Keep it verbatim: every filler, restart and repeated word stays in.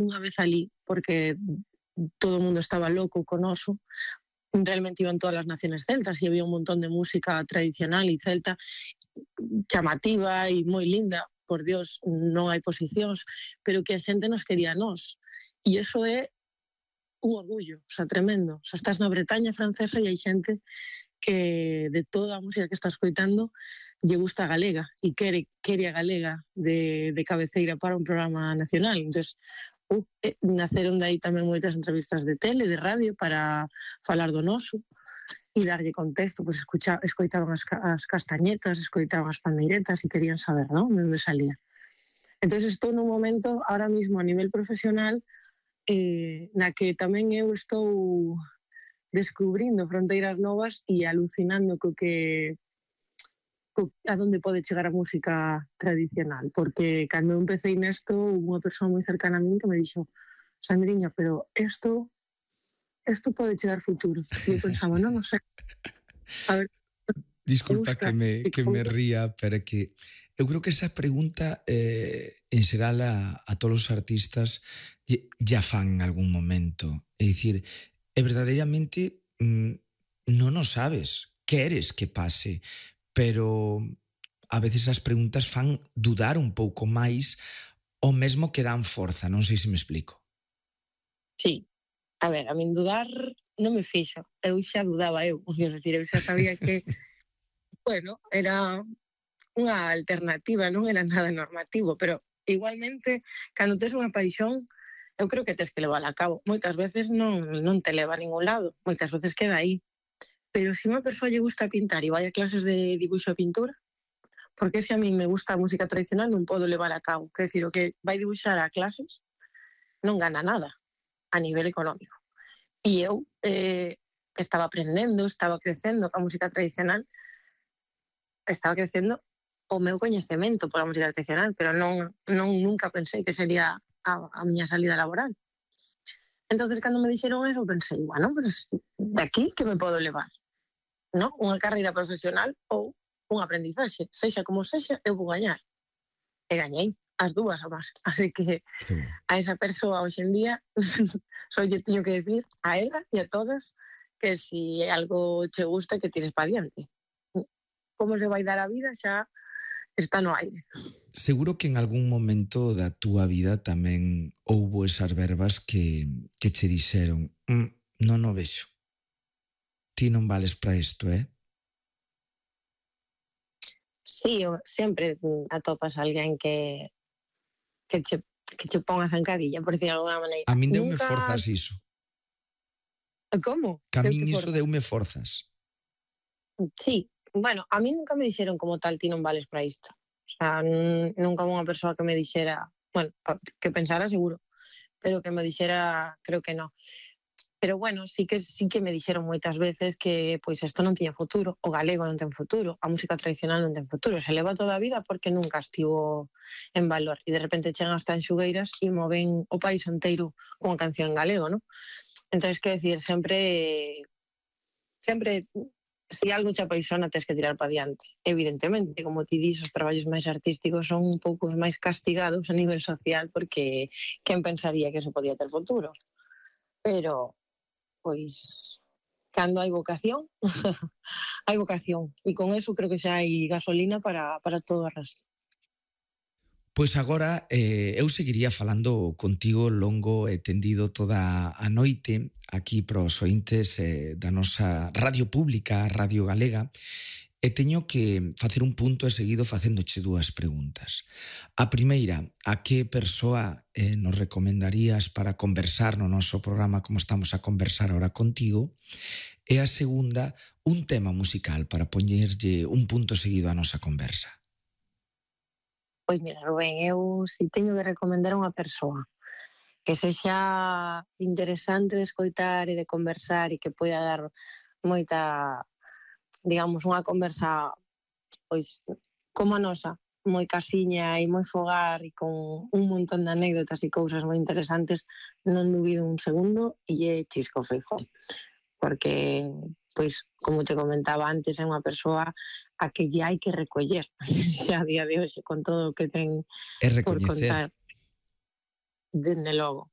unha vez ali, porque todo o mundo estaba loco con oso, realmente iban todas as naciones celtas e había un montón de música tradicional e celta chamativa e moi linda, por Dios, non hai posicións, pero que a xente nos quería a nós. E iso é un orgullo, o sea, tremendo. O sea, estás na Bretaña francesa e hai xente que de toda a música que está escoitando lle gusta a galega e quere, quere a galega de, de cabeceira para un programa nacional. Entón, uh, eh, naceron de aí tamén moitas entrevistas de tele, de radio, para falar do noso e darlle contexto, pois escucha, escoitaban as, as castañetas, escoitaban as pandeiretas e querían saber, non? De onde salía. Entón, estou nun momento, ahora mismo, a nivel profesional, eh, na que tamén eu estou descubrindo fronteiras novas e alucinando co que co, a donde pode chegar a música tradicional, porque cando eu empecé nesto, unha persoa moi cercana a min que me dixo: Sandriña, pero isto isto pode chegar futuro. E eu pensaba, non, non sei. A ver, disculpa que me, que me ría, pero é que eu creo que esa pregunta eh, en xeral a, a todos os artistas ya fan en algún momento. É dicir, e verdadeiramente mm, non o sabes, queres que pase, pero a veces as preguntas fan dudar un pouco máis ou mesmo que dan forza, non sei se me explico. Sí, a ver, a min dudar non me fixo, eu xa dudaba eu, quero decir, eu xa sabía que, bueno, era unha alternativa, non era nada normativo, pero igualmente, cando tes unha paixón, eu creo que tes que levar a cabo. Moitas veces non, non te leva a ningún lado, moitas veces queda aí. Pero se unha persoa lle gusta pintar e vai a clases de dibuixo e pintura, porque se a mí me gusta a música tradicional non podo levar a cabo. Quer decir, o que vai dibuixar a clases non gana nada a nivel económico. E eu eh, estaba aprendendo, estaba crecendo a música tradicional, estaba crecendo o meu coñecemento pola música tradicional, pero non, non nunca pensei que sería a, a miña salida laboral. Entonces, cando me dixeron eso, pensei, bueno, pues, de aquí que me podo levar? ¿No? Unha carreira profesional ou un aprendizaxe. Sexa como sexa, eu vou gañar. E gañei as dúas ou máis. Así que a esa persoa hoxe en día só lle teño que decir a ela e a todas que si algo che gusta que tires para diante. Como se vai dar a vida xa está no aire. Seguro que en algún momento da túa vida tamén houbo esas verbas que, que che dixeron mm, non o vexo. Ti non vales para isto, eh? Sí, sempre atopas a alguén que que che, que che pon a zancadilla, por decir de alguna maneira. A min deume Nunca... forzas iso. Como? Que a min iso deume forzas. Sí, bueno, a mí nunca me dixeron como tal, ti non vales para isto. O sea, nunca unha persoa que me dixera, bueno, que pensara seguro, pero que me dixera, creo que non. Pero bueno, sí que sí que me dixeron moitas veces que pois isto non tiña futuro, o galego non ten futuro, a música tradicional non ten futuro, se leva toda a vida porque nunca estivo en valor. E de repente chegan as tanxugueiras e moven o país inteiro cunha canción en galego, non? Entón, que decir, sempre sempre se si algo che apaixona, tes que tirar para diante. Evidentemente, como ti dis, os traballos máis artísticos son un pouco máis castigados a nivel social porque quen pensaría que eso podía ter futuro? Pero, pois, cando hai vocación, hai vocación. E con eso creo que xa hai gasolina para, para todo o resto. Pois agora eh, eu seguiría falando contigo longo e tendido toda a noite aquí pros ointes eh, da nosa radio pública, Radio Galega, e teño que facer un punto e seguido facéndoche dúas preguntas. A primeira, a que persoa eh, nos recomendarías para conversar no noso programa como estamos a conversar ahora contigo? E a segunda, un tema musical para poñerlle un punto seguido á nosa conversa. Pois mira, Rubén, eu si teño que recomendar a unha persoa que sexa interesante de escoitar e de conversar e que poida dar moita, digamos, unha conversa pois como a nosa, moi casiña e moi fogar e con un montón de anécdotas e cousas moi interesantes, non dubido un segundo e é Chisco Feijóo, porque pois, como te comentaba antes, é unha persoa a que lle hai que recoller xa a día de hoxe con todo o que ten por contar. Dende logo.